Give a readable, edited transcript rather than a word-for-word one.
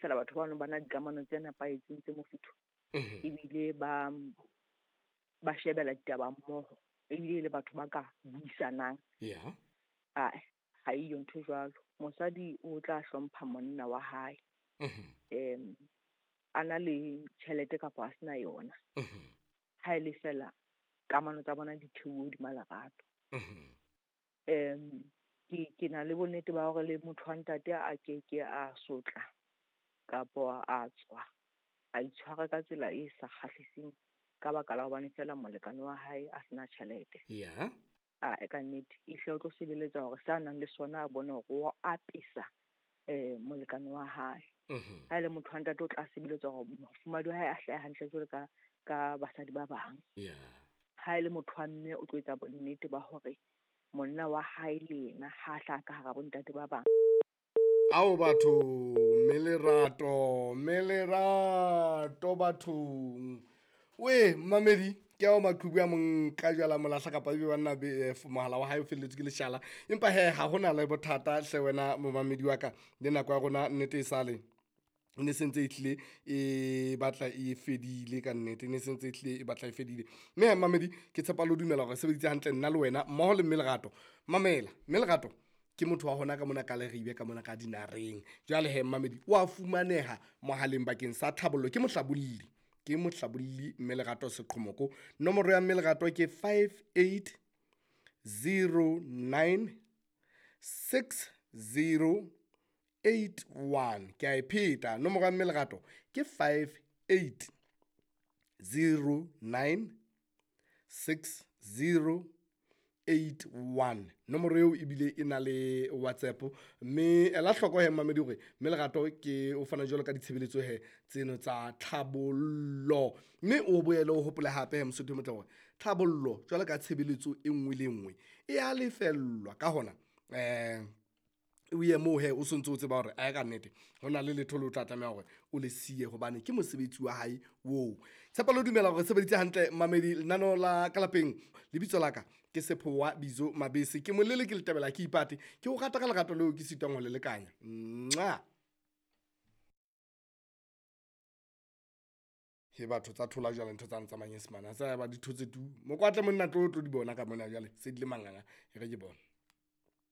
fela batho bano ba na dikamano tse nepahetseng tse mofuthu, ebile ba shebela ditaba mmoho, ebile le batho ba ka buisanang. Ae, ha eyo ntho jwalo. Mosadi o tla hlompha monna wa hae, a na le tjhelete kapa a sena yona. Ha e le fela kamano tsa bona di theuwe hodima lerato. Ke na le bonnete ba hore le motho wa ntate a ke ke a sotla kapa a tswa a itshwara ka tsela e sa kgahliseng ka baka la hobane fela molekane wa hae a sena tjhelete. A ka nnete ehlile o tlo sebeletsa hore sa nang le sona a bone hore o apesa molekane wa hae. Ha e le motho wa ntate o tla sebeletsa hore mofumahadi wa hae a hlahe hantle jwalo ka basadi ba bang. Ha e le motho wa mme o tlo etsa bonnete ba hore monna wa hae le yena ha hlaha ka hara bontate ba bang. Ao batho, mme lerato bathong. We mmamedi, ke ao maqhubu a mong ka jwala molahla kapa ebe banna be mohala wa hae o felletswe ke leshala. Empa he ha hona le bothata hle wena momamedi wa ka, le nako ya rona nnete e sale ne sentse e hlile e batla e fedile ka nnete, ne sentse e hlile e batla e fedile. Mme mamedi ke tshepa le ho dumela hore sebeditse hantle nna le wena mmoho le mme Lerato. Mamela, mme Lerato ke motho wa hona ka mona ka Leribe ka mona ka dinareng. Jwale he mmamedi wa fumaneha mohaleng bakeng sa tlhabollo, ke mohlabolli mme Lerato Seqhomoko. Nomoro ya mme Lerato ke 5809 6081. Ke a e pheta, nomoro ya mme Lerato ke 5809 6081. Nomoro eo ebile e na le WhatsApp, mme ela hloko he mmamedi hore mme Lerato ke o fana jwalo ka ditshebeletso he tseno tsa tlhabollo. Mme o boele o hopole hape he Mosotho e motle hore tlhabollo jwalo ka tshebeletso e nngwe le nngwe e a lefellwa. Ka hona o ye moo he o sontso o tseba hore ae ka nnete hona le letho le o tla tlameha hore o le siye hobane ke mosebetsi wa hae oo. Tshepo le ho dumela hore sebeditse hantle mmamedi lenaneo la ka lapeng. Lebitso la ka ke Sephowa Bizo Mabese, ke molele ke letebela ke ipate, ke o rata ka lerato leo ke sitwang ho le lekanya. Nxa he batho tsa thola jwale ntho tsane tsa manyesemane a tsa ba di thotse tu. Mokwatle monna tlo di bona ka mona jwale se di le manganga, e re ke bone.